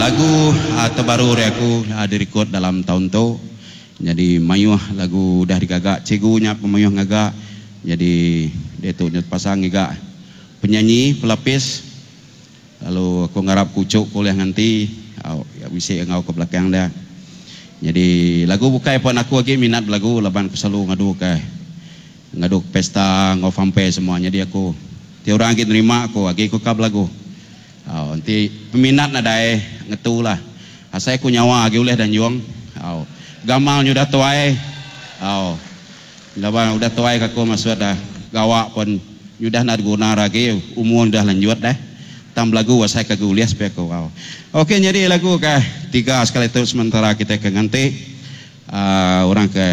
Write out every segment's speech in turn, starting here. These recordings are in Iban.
Lagu terbaru ari aku dirikod dalam taun tu. Nyadi mayuh lagu udah digaga cikgu nya pun mayuh ngaga. Nyadi diatu nya tepasang ngiga penyanyi pelapis lalu aku ngarap ku uchu ku ulih nganti au bisi enggau ke belakang dia. Nyadi lagu bukai pun aku agi minat belagu laban aku selalu ngadu ke ngadu pesta enggau funfair semua. Nyadi aku ti orang agi nerima aku agi ku ka belagu. Au enti peminat nadai ngetu lah. Asai ku nyawa agi ulih danjung. Au gamal nyudah tuai. Au laban udah tuai ka aku maksud dah gawa pun nyudah enda diguna agi umur udah lanjut deh. Tang belagu asai ka agi ulih sepi aku. Au ok nyadi lagu ke tiga sekali tu sementara kitai ke nganti uhh orang ke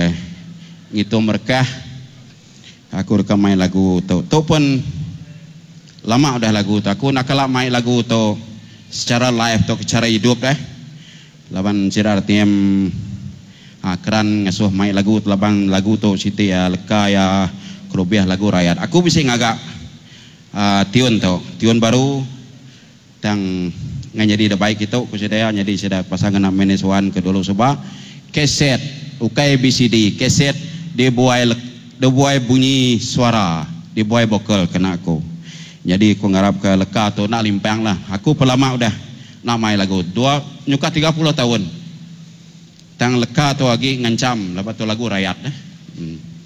ngitung merekah. Aku deka mai lagu tu. Tu pun lama udah lagu tu. Aku enda kala mai lagu tu secara live tauka chara idup deh. Laban sida reti em keran ngasuh mai lagu tu laban lagu tu siti iya leka iya kelubih lagu rayat. Aku bisi ngaga uhh tiun tu. Tiun baru tang ngai nyadi da baik kitu ku sida iya nyadi sida pasal ngena manage one ke dulu suba. Kaset ukai VCD kaset dibuai dibuai bunyi suara dibuai vokal kena aku. Nyadi aku ngarap ke leka tu enda limpang lah. Aku pun lama udah enda mai lagu dua nyuka 30 taun tang leka tu agi ngancham laban tu lagu rayat.